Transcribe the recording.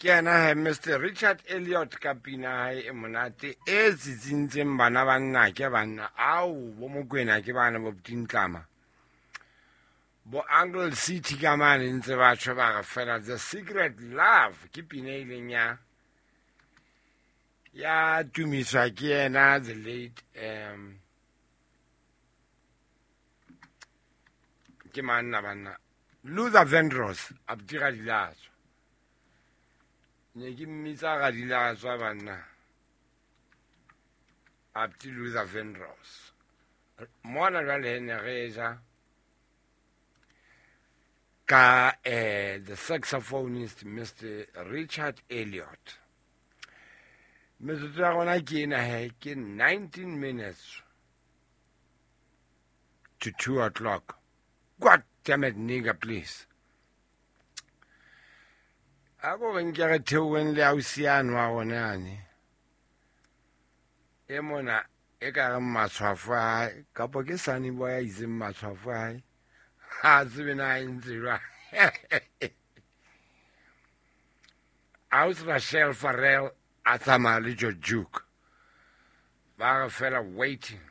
Ke yena he Mr Richard Elliot ka pina hae e monate e tsitsintseng bana ba nnake banna ao bo Mokwena ke bana bo Tintlama bo Uncle City ka mane ntse ba tjho ba re fela The Secret Love ke pina e ileng ya ya tumiswa ke yena the late ke manna banna Luther Vandross a botira dilatswa ne ke mmitsa ga dilatswa banna Abdi Luther Vandross mona jwale ne re ja ka the saxophonist Mr Richard Elliot. Metsotso ya rona ke ena he ke 19 minutes to 2 o'clock. God damn it, nigga, please. A ko re nke re theoheng le ausi yane wa rona yane. E mona e ka reng matshwafo a hae, kapo ke Sunny Boy a itseng matshwafo a hae. Ha tsebe na e ntse jwang. Ausi Rachel Farrell a tsamaya le George Duke. Ba re fela waiting.